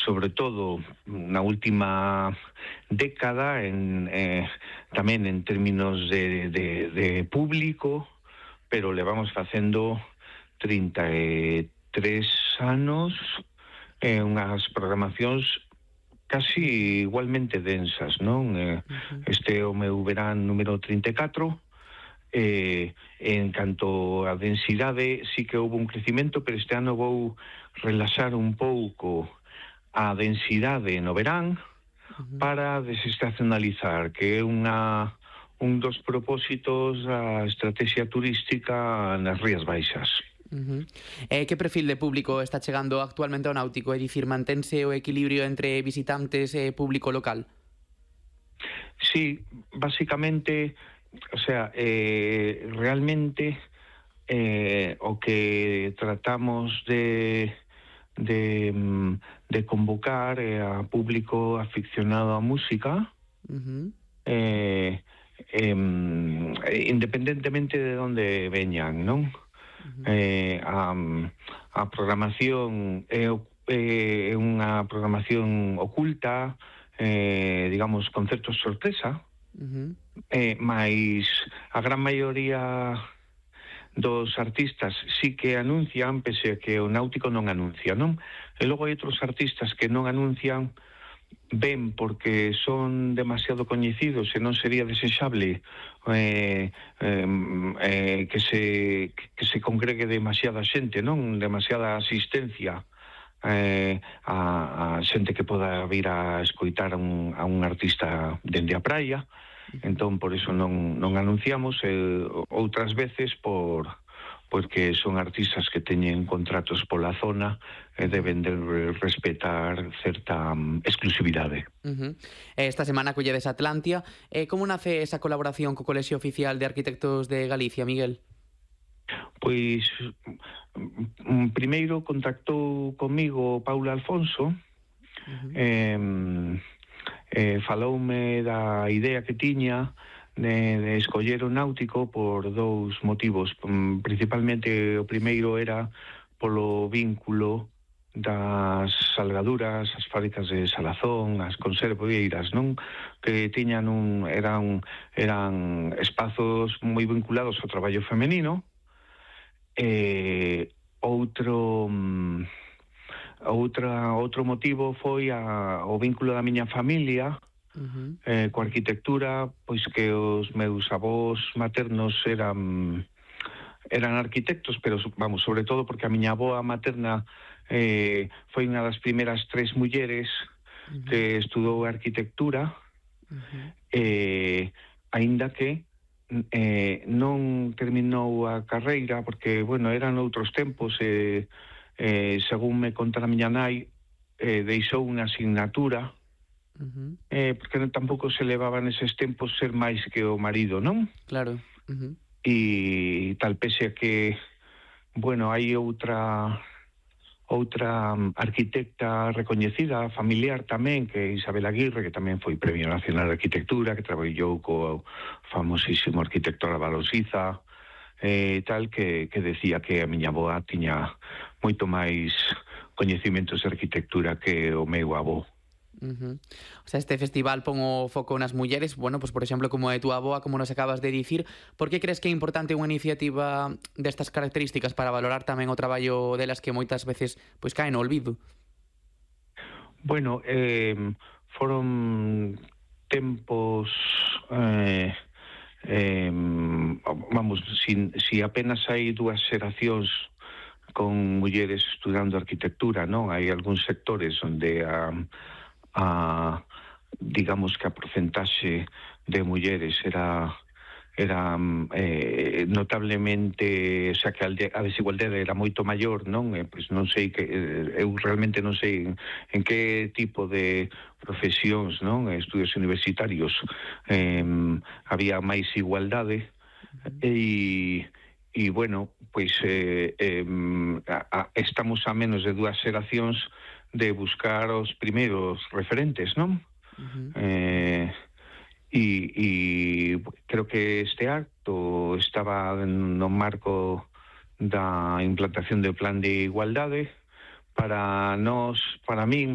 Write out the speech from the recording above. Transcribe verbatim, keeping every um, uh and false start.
sobre todo na última década, en, eh, tamén en términos de, de, de público, pero levamos facendo trinta e tres anos, eh, unhas programacións casi igualmente densas, non? Eh, Uh-huh. este é o meu verán número trinta e catro. Eh, en canto a densidade, sí que houve un crecimento, pero este ano vou relaxar un pouco a densidade no verán Uh-huh. para desestacionalizar, que é unha un dos propósitos da estrategia turística nas Rías Baixas. Uh-huh. Eh, que perfil de público está chegando actualmente ao náutico? É dicir, mantense o equilibrio entre visitantes e público local? Sí, básicamente, o sea, eh, realmente eh, o que tratamos de de, de convocar eh, a público aficionado á música, Uh-huh. eh, eh, independentemente de onde veñan, non? Uh-huh. Eh, a, a programación é, é unha programación oculta, eh, digamos, concertos sorpresa, Uh-huh. eh, mais a gran maioría dos artistas sí que anuncian, pese a que o náutico non anuncia, non? E logo hai outros artistas que non anuncian, ben porque son demasiado coñecidos e non sería desexable eh, eh, eh, que se que se congregue demasiada xente, non? Demasiada asistencia eh, a, a xente que poda vir a escoitar a un, a un artista dende a praia. Entón, por iso non, non anunciamos, eh, outras veces por porque son artistas que teñen contratos pola zona e deben de respetar certa um, exclusividade. Uh-huh. Esta semana colledes Atlantia. Eh, como nace esa colaboración co Colexio Oficial de Arquitectos de Galicia, Miguel? Pois, um, primeiro contactou comigo Paula Alfonso, uh-huh. eh, Eh, faloume da idea que tiña de, de escoller o náutico por dous motivos. Um, principalmente o primeiro era polo vínculo das salgaduras, as fábricas de Salazón, as conserveiras, non? Que tiñan un eran eran espazos moi vinculados ao traballo femenino. Eh, outro um, Outra, outro motivo foi a, o vínculo da miña familia uh-huh. eh, coa arquitectura, pois que os meus avós maternos eran eran arquitectos, pero vamos, sobre todo porque a miña avoa materna eh, foi unha das primeiras tres mulleres uh-huh. que estudou arquitectura, uh-huh. eh, aínda que eh, non terminou a carreira porque, bueno, eran outros tempos e eh, Eh, según me conta a miña nai, eh, deixou unha asignatura, uh-huh. eh, porque tampouco se levaba neses tempos ser máis que o marido, non? Claro. Uh-huh. E tal, pese a que, bueno, hai outra outra arquitecta recoñecida, familiar tamén, que é Isabel Aguirre, que tamén foi Premio Nacional de Arquitectura, que traballou co famosísimo arquitecto Álvaro Siza, eh, tal, que, que decía que a miña avoa tiña moito máis coñecimentos de arquitectura que o meu avó. Uh-huh. O sea, este festival pon o foco nas mulleres, bueno, pues por exemplo, como é tu avoa, como nos acabas de dicir. Por que crees que é importante unha iniciativa destas características para valorar tamén o traballo delas que moitas veces pois caen no olvido? Bueno, eh, foron tempos... Eh, Eh, vamos, si, si apenas hai dúas xeracións con mulleres estudando arquitectura, non? Hai algúns sectores onde a, a digamos que a porcentaxe de mulleres era era eh, notablemente, o sea, que a desigualdade era moito maior, non? Eh, pois non sei que eu realmente non sei en, en que tipo de profesións, non? Estudios universitarios eh, había máis igualdade e e bueno, pois eh, eh, a, a, estamos a menos de dúas xeracións de buscar os primeiros referentes, non? Uh-huh. Eh E, e creo que este acto estaba no marco da implantación do plan de igualdade. Para nós, para min,